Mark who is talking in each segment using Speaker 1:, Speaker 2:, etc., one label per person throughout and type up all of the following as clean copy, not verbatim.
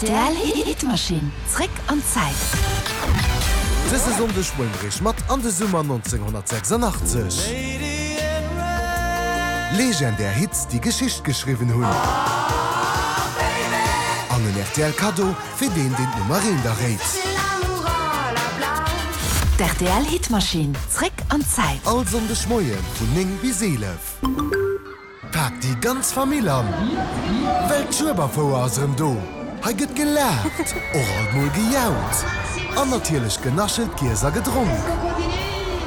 Speaker 1: Rtl Hitmaschinn, zréck an d'Zäit.
Speaker 2: Dëse Sonndeg Moien mat an de Summer 1986. Legendär Hits, déi Geschicht geschriwwen hunn. An en rtl Kaddo fir deen, deen d'Nummer eent erréit.
Speaker 1: D'RTL Hitmaschinn, zréck an d'Zäit.
Speaker 2: All Sonndeg Moien vun 9 bis 11. Pak déi ganz Famill an, well d'Schueberfouer ass erëm do! Hei gëtt gelaacht, och alt mol gejaut an natierlech genaschelt, giess a gedronk.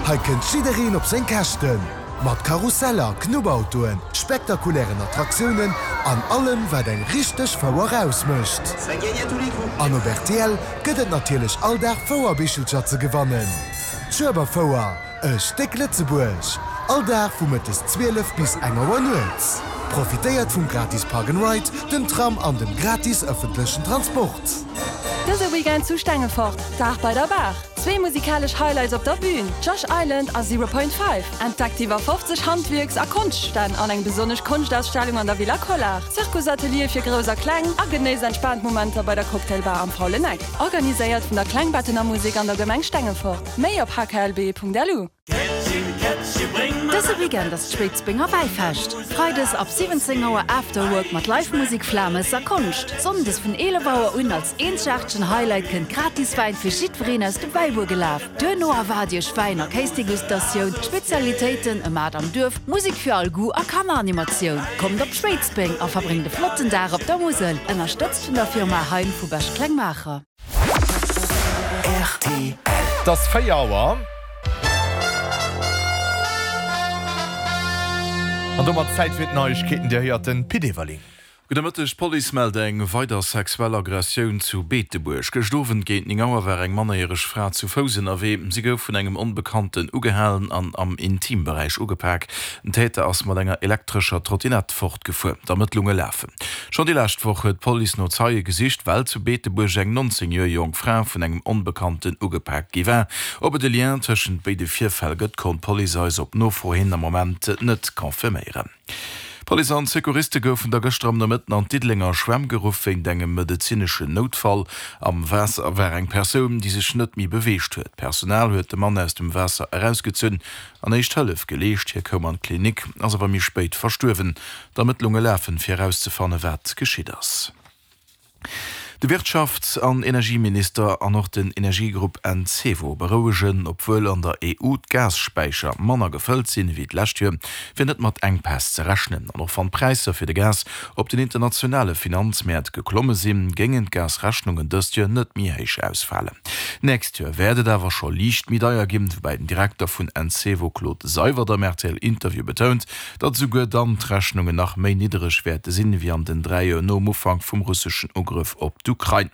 Speaker 2: Hei kënnt jiddereen op seng Käschten, mat Karusseller, Knubbautoen, spektakulären Attraktiounen an allem wat eng richteg Fouer ausmécht. An op rtl gëtt et natierlech all Dag Fouerbichelcher ze gewannen. D'Schueberfouer! E Stéck Lëtzebuerg, all Dag vu mëttes 12 bis eng Auer nuets. Profitéiert vum gratis Park and Ride, dem Tram an dem gratis ëffentlechen Transport.
Speaker 3: Dëse Weekend zu Stengefort, Dag bei der Baach. Zwee musikalesch Highlights op der Bühn, Josh Island a Zero Point Five. Entdeckt iwwer 50 Handwierks a Konschtstänn an eng besonnesch Konschtausstellung an der Villa Collart, Zirkusateliere fir Grouss a Kleng a genéisst entspaant Momenter bei der Cocktailbar am Faulen Eck. Organiséiert vun der Klengbettener Musek an der Gemeng Stengefort. Méi op hklb.lu.
Speaker 1: Dëse Weekend ass d'Schwéidsbenger Wäifescht. Freides ab 17 Auer Afterwork mat Live-Musik, Flames a Konscht. Sonndes vun 11 Auer un als eenzegaartegen Highlight kënnt gratis Wäin fir jiddwereen aus dem Wäibuer gelaf. Duerno erwaart iech Wäin a Kéisdegustatioun, Spezialitéiten, e Maart am Duerf, Musik fir all Goût a Kanneranimatioun. Kommt op Schwéidsbeng a verbréngt e flotten Dag op der Musel, ënnerstëtzt vun der Firma Hein vu Bech-Klengmaacher.
Speaker 4: Rtl. Et ass 4 Auer. An domat Zäit fir d'Neiegkeeten. Dir héiert den Pit Everling.
Speaker 5: Gudde Mëtteg, D'Police mellt eng weider sexuell Aggressioun zu Beetebuerg. Gëscht Owend géint 9 Auer war eng mannerjäreg Fra zu Fouss ënnerwee. Si gouf vun engem Onbekannten ugehalen an am Intimberäich ugepak. Den Täter ass mat enger elektrescher Trottinett fortgefuer. D'Ermëttlunge lafen. Schonn déi lescht Woch huet d'Police no Zeie gesicht, well zu Beetebuerg eng 19 Joer jonk Fra vun engem Onbekannten ugepaakt gi war. Ob et e Lien tëschent béide Virfäll gëtt, konnt d'Police eis op Nofro hin am Moment net confirméieren. D'Police an d'Secouriste goufen da gëschter am Nomëtten an d'Diddelenger Schwämm geruff wéint engem medezineschen Noutfall. Am Waasser war eng Persoun, déi sech net méi beweegt huet. D'Personal huet de Mann aus dem Waasser erausgezunn an éischt Hëllef geleescht. Hie koum an d'Klinik, ass awer méi spéit verstuerwen. D'Ermëttlunge lafen, fir erauszefanne wat geschitt ass. De Wirtschafts an Energieminister an och den Energiegrupp Encevo berouegen, obwuel an der EU d'Gasspäicher manner gefëllt sinn ewéi d'lescht Joer, wier net mat Enkpäss ze rechnen. An och wann d'Präisser fir de Gas op den internationale Finanzmäert geklomme sinn, géingen d'Gasrechnungen dëst Joer net méi héich ausfalen. D'nächst Joer wäert et awer scho liicht méi deier ginn, woubäi den Direkter vun Encevo Claude Seywert am RTL-Interview betount, datt esouguer dann d'Rechnungen nach méi niddereg wäerte sinn, ewéi an den 3 Joer nom Ufank vum russeschen Ugrëff op d'Ukrain.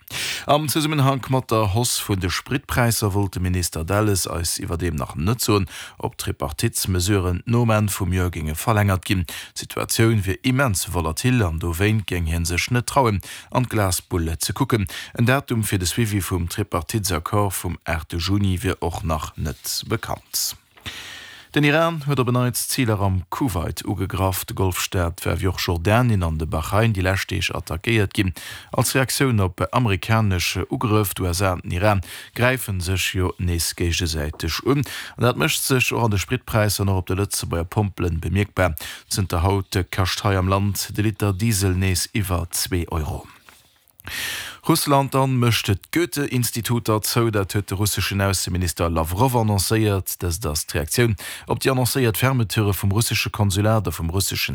Speaker 5: Am Zesummenhank mat der Hausse vun de Spritpräisser wollt de Minister Delles eis iwwerdeem nach net soen, ob d'Tripartitesmesuren nom Enn vum Joer géinge verlängert ginn. D'Situatioun wier immens volatil an dowéint géing hie sech net trauen, an d'Glasbull ze kucken. En Datum fir de Suivi vum Tripartitesaccord vum 8 Juni wier och nach net bekannt. Den Iran huet op en Neits Ziler am Kuwait ugegraff. De Golfstaat war wéi och Jordanien an de Bahrain déi lescht Deeg attackéiert ginn, als Reaktioun op amerikanesch Ugrëff. D'USA an den Iran gräife sech jo nees géigesäiteg un. An dat mécht sech och an de Spritpräisser an och op de Lëtzebuerger Pompelen bemierkbar. Zënter haut kascht hei am Land de Liter Diesel nees iwwer zwee Euro. Russland dann mécht d'Goethe-Instituter zou. Dat huet de russeschen Ausseminister Lawrow annoncéiert. Dëst ass d'Reaktioun op déi annoncéiert Fermeture vum russesche Konsulat a vum russeschen.